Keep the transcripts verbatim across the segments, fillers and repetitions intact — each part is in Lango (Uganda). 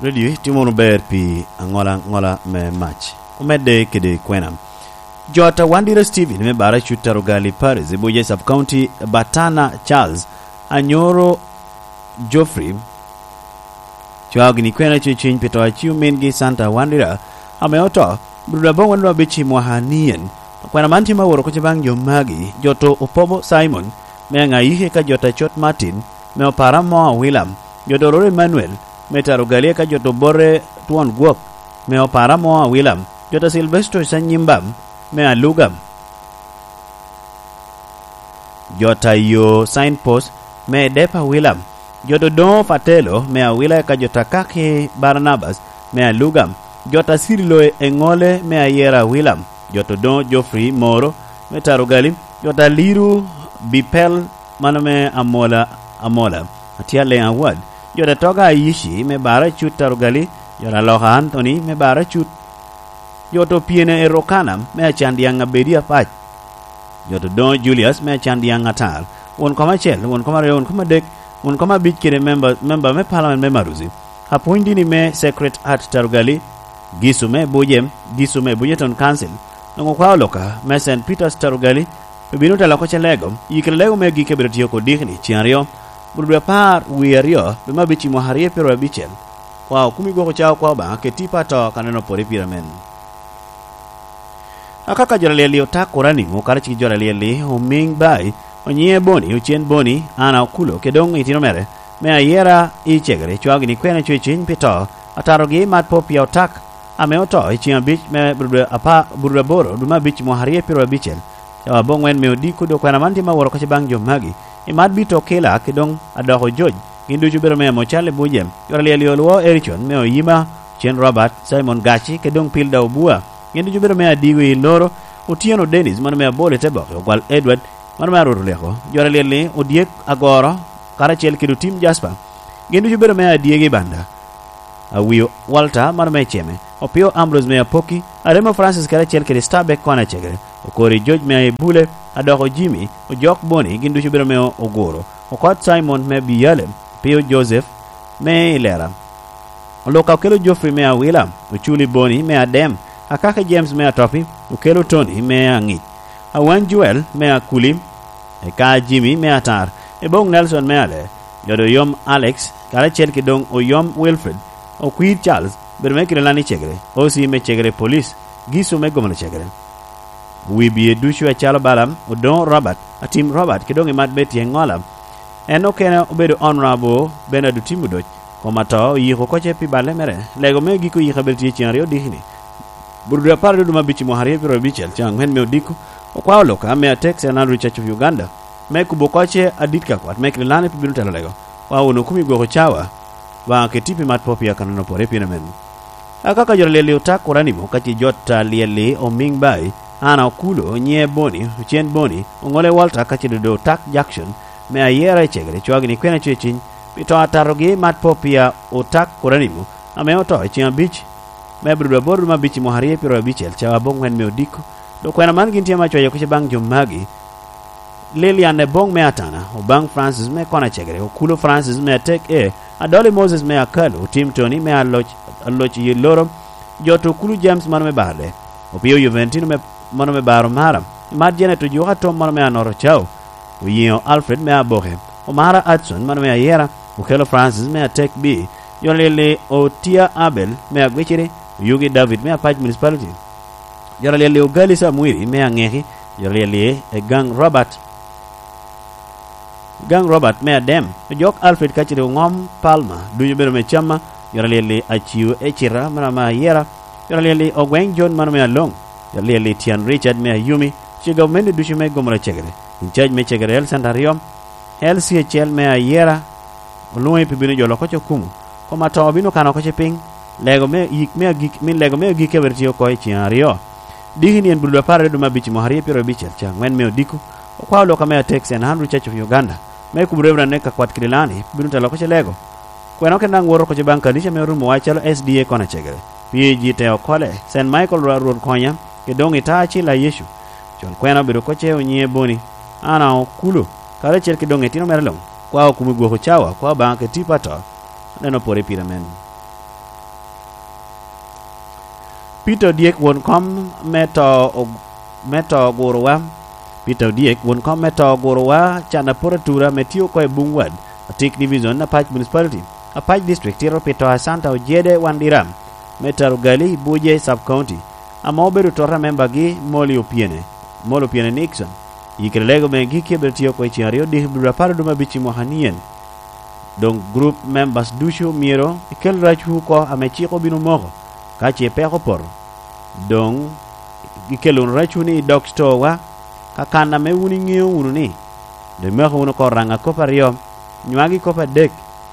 Radio itimo wunu ber pi aŋola aŋola me mac. Omedde kede kwena. Jot Awandira Steven me Baracut Tarugali Paris, i Buja Sub County, Batana Charles, Anyoro Geoffrey, cwao gini kwena cuciny pi to a ci omingi Santa Awandira, ame oto, brudo aboŋwen nwa abic i mwaka anien. Kwena man tye ma woro kuca baŋ jo magi, jot Opobo Simon, me Aŋayiki ka jot Acot Martin, me Opara mo Awilam, jot Ororo Emmanuel, me Tarugali ka jot Obote Twon Gwok, me Opara mo Awilam, jot Silvestro Sanyimba, me Alugam, jot Ayo Signpost, me Depa Awilam, jot Odoŋo Fatelo, me Awila ka jot Akaki Barnabas, me Alugam, jot Asirilo Eŋole, me Ayera Awilam, jot Odoŋo Geoffrey Moro, me Tarugali, jot Aliru Bipel, mano me Amola, Amola, Atyaleŋ Awad, jot Atoga Ayici, me Baracut Tarugali, jot Aloka Anthony, me Baracut, jot Opiene Erokana, me Acandyaŋ Abedi Apac, jot Odoŋo Julius, me Acandyaŋ Atar, won kom acel, won kom aryo, won kom adek, won kom abic kede memba, memba me Parliament me Maruzi, apwony dini me Sacred Heart Tarugali, Gisu me Buje, Gisu me Buje Town Council, doŋ okwao Luka me Saint Peter's Tarugali, obino telo oko ce lego, i kare lego me agikki abedo tye oko dikni, cen aryo, bur dwe apar wie aryo, dwe me abic i mwaka aryo pyero abicel, kwao kumi gwok ocawa kwao Obaŋa, keti pa to ka neno pwod i pira men. Akaka jo alyel-li Otak Oranimo, karacel ki jo alyel-li Omiŋ Bai, Onyiŋe Boni, Ocen Boni, Ana Okulo, kede doŋ itino mere, me Ayera i Cegere, cwao gini kwena cuciny pi to, atarogi mat po pia Otak, ame oto i ceŋ abic me Burudwe apa-, Burudwe aboro, dwe me abic, mwaka aryo pyero abicel. Cawa aboŋwen me odiko, dok kwena man tye ma woro kacce baŋ jo magi. I mat bito okila, kede doŋ adoko joc, gin ducu obedo me amo cal i buc jem. Jo alyel-li Olwo Ericon, me Oyima, Ocen Robert, Simon Gaci, kede doŋ Pilda Obua. Gin ducu obedo me adigo i Loro, Otyeno Dennis, mano me Abol i te boke, Ogwal Edward, mano me Arwot Oleko, jo alyel-li Odyek Agoro, karacel kede Otim Jasper. Gin ducu obedo me adyegi i Banda. Awio Walter, mano me Ceme, Opio Ambrose me Apoki, Aremo Francis karacel kede Starbeck kwana Cegere, Okori George me Ebule, Adoko Jimmy, Ojok Boni, gin ducu obedo me Oguro, Okot Simon me Biyale, Pio Joseph me Ilera. Oluka okelo Geoffrey me Awila, Oculi Boni me Adem, Akaka James me Atopi, okelo Tony me Aŋic, Awany Joel me Akuli, eka Jimmy me Atar, Ebong Nelson me Ale, Jodo Oyom Alex, karacel ki doŋ Oyom Wilfred, Okwir Charles, bedo me Kirilani Cegere, O C me Cegere Police, Gisu me Gomolo Cegere. Wi bie ducu acalo Balaam, Odoŋo Robert, Atim Robert, ki doŋ i mat Betty Eŋola. En okene obedo Honorable Bernard Otim Odoc, kom ato oyiko kocce pi balle mere. Lego me giko yiko abedo tye ceŋ aryo dikini. Burudwe apar duduma abic i mwaka aryo pyero abicel, ceŋ aŋwen me odiko, okwao Luka me Atek Saint Andrew Church of Uganda, me kubo kocce adit ka kwat me Kirilani pi bino telo lego. Wa wunu kumi gwoko cawa, Obaŋa keti pi mat po pia kanano pore pien amen. Akaka jo alyel-li Otak Oranimo, ka ce jot alyel-li Omiŋ Bai, Ana Okulo, Onyiŋe Boni, Ocen Boni, Oŋole Walter, ka ce dodo Otak Jackson, me Ayera i Cegere, cwao gini kwena cuciny, pi to atatogi mat po pia Otak Oranimo, ame oto i ceŋ abic, me Abril aboro dwe me abic i mwaka aryo pyero abicel, cawa aboŋwen me odiko. Dok kwena man gin tye ame acwayo kuca baŋ jo magi, Lilian Eboŋ me Atana, Obaŋ Francis me Kona Cegere, Okulo Francis me Atek E, Adoli Moses me Akalu, Tim Tony me Aloc, Aloc i Loro, Joto Okulu James mano me Barde, Opio Juventino me, mano me Baro Mara, Imat Janet Ojuka Tom mano me Anoro Cao, Oyiŋo Alfred me Aboke, Omara Adson mano me Ayera, Okelo Francis me Atek B, Jonlili Otia Abel me Agwiciri, Oyugi David me Apac Municipality. Jot alyel-li Ogali Samwiri me Aŋeki, jot alyel-li Egaŋ Robert, Egaŋ Robert me Adem, Ojok Alfred kacel Oŋom Palmer, ducu obedo me Camma, jot alyel-li Aciu Ecita mano me Ayera, jot alyel-li Ogweŋ John mano me Aloŋ, jot alyel-li Tyen Richard me Ayumi, ce gavumenti ducu me Gomora Cegere, in charge me Cegere Health Center aryo, L C acel me Ayera, olwoŋi pi bino jolo oko cokumu. Kom ato obino kano oko ce piny. Lego me yik me agik, min lego me agikki abiro tye oko i ceŋ aryo. Diki ni en Bululu apar aryo dwe me abic i mwaka aryo pyero abicel, ceŋ aŋwen me odiko. Okwao lok ame atek Saint Andrew Church of Uganda, me kubo Reverend Eka Kwat Kirilani, bino telo oko ce lego. Kwena okene daŋ woto oko ce baŋ kanica me orumowa calo S D A Kona Cegere, P A G te okole, Saint Michael Rwa-, Rwot Konya, kede doŋ i ta acil a Yecu. Con kwena obedo oko ce Onyiŋe Boni, Ana Okulo, karacel ki doŋ etino mere luŋ, kwa okumi gwoko cawa, kwa Obaŋa keti pa to, aneno pore pire men. Peter Odyek, won kom me to og-, me to ogurowa. Peter Odyek, won kom me to ogurowa, can apot atura ame tye oko i Bungwad, Atik Division, Apac Municipality, Apac District, tito pi to a Santa Ojede Wandiram me Tarugali, Buje Sub County, ame obedo tota membagi Molly Opiene, Molly Opiene Nixon. I kede lego me gikki abiro tye oko i ceng aryo diki bludo apar oduma abic i mwaka nien. Doŋ group members ducu myero ikel racwu oko ame cik obino moko. Ka ce peko opoto, doŋ ikelo wunu racwu ni i dog stowa, ka kan ame wun iŋeo wunu ni, doŋ imako wunu oko raŋa kop aryo, nywagi kop adek,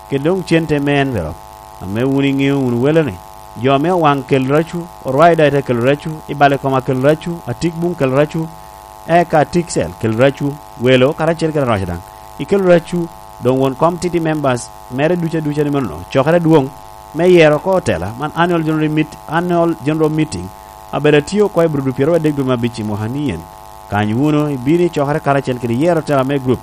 kede doŋ cente me envelope, ame wun iŋeo wunu wele ni, jo ame owaŋ kel racwu, orwaida ite kelo racwu, i bale koma kel racwu, atik buŋ kel racwu, eka atik cel kel racwu, welo karacel kede aroca daŋ, ikelo racwu, doŋ won kom titi members mere ducu aduca ni mano cokere adwoŋ me yero oko otela, man annual general meet-, annual general meeting, abedo atye oko i Burudu pyeraryo adek dwe me abic i mwaka nien. Kany wunu, ibino i cokere karacel kede yero otela me group,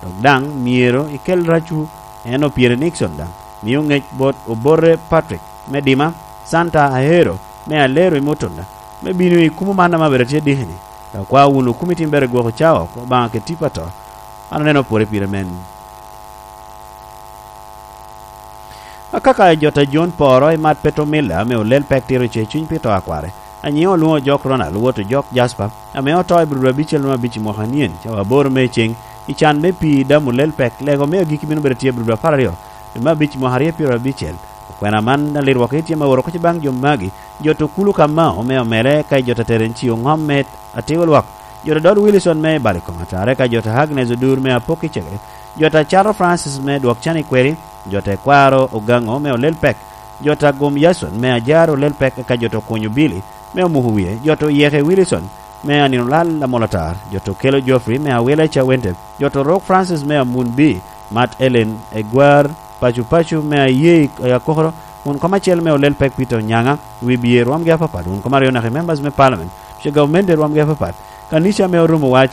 dok daŋ myero ikel racwu, en Opiene Nixon daŋ mio ŋec bot Obote Patrick me Dima, Santa Ahero me Alero i Mutunda, me bino i kumo man ame abedo atye diki-ni. Dok kwa wunu kumo itim bere gwoko cawa oko Obaŋa kede tipo ato. An aneno pwore pire men. Akaka jo ta John Poro i mat Petro Miller ame olel pek tiro ce cuny pi to akware. Anyiŋe olwoŋo Jok Ronald, wot Jok Jasper, ame oto i Burudu abicel me abic i mwaka nien, cawa aboro me ceŋ, i can me pii damo lel pek, lego me agikki bino bedo tye i Burudu apar aryo, dwe me abic i mwaka aryo pyero abicel. Okwena man, alirwok tye me oro kec baŋ jo magi, jo to Kulu Kamao me Omele, ka i jo ta Terencio Ŋom me Atigo Lwak, jo ta Dod Wilson me Balikom Atare, ka jo ta Agnes Odur me Apok i Cege, jo ta Cato Francis me Dwok Can i Kweri, jo ta Ekwaro Ogaŋo me Olel Pek, jo ta Gum Yason me Ajar Olel Pek, eka jo ta Okunyo Bili me Omuko Wie, jo ta Oyeke Wilson me Anino Lal Amol Atar, jo ta Okelo Geoffrey me Awila i Cawente, jo ta Orok Francis me Amun Bi, Mat Ellen Egwar, Pacu Pacu me Aye i Akokoro, wun kom acel me Olel Pek Peter Onyaŋa, Wibye rwomgi apapat, wun kom aryo naka i members me parliament, ducu gavumenti rwomgi apapat, kanica me Orumo Wac,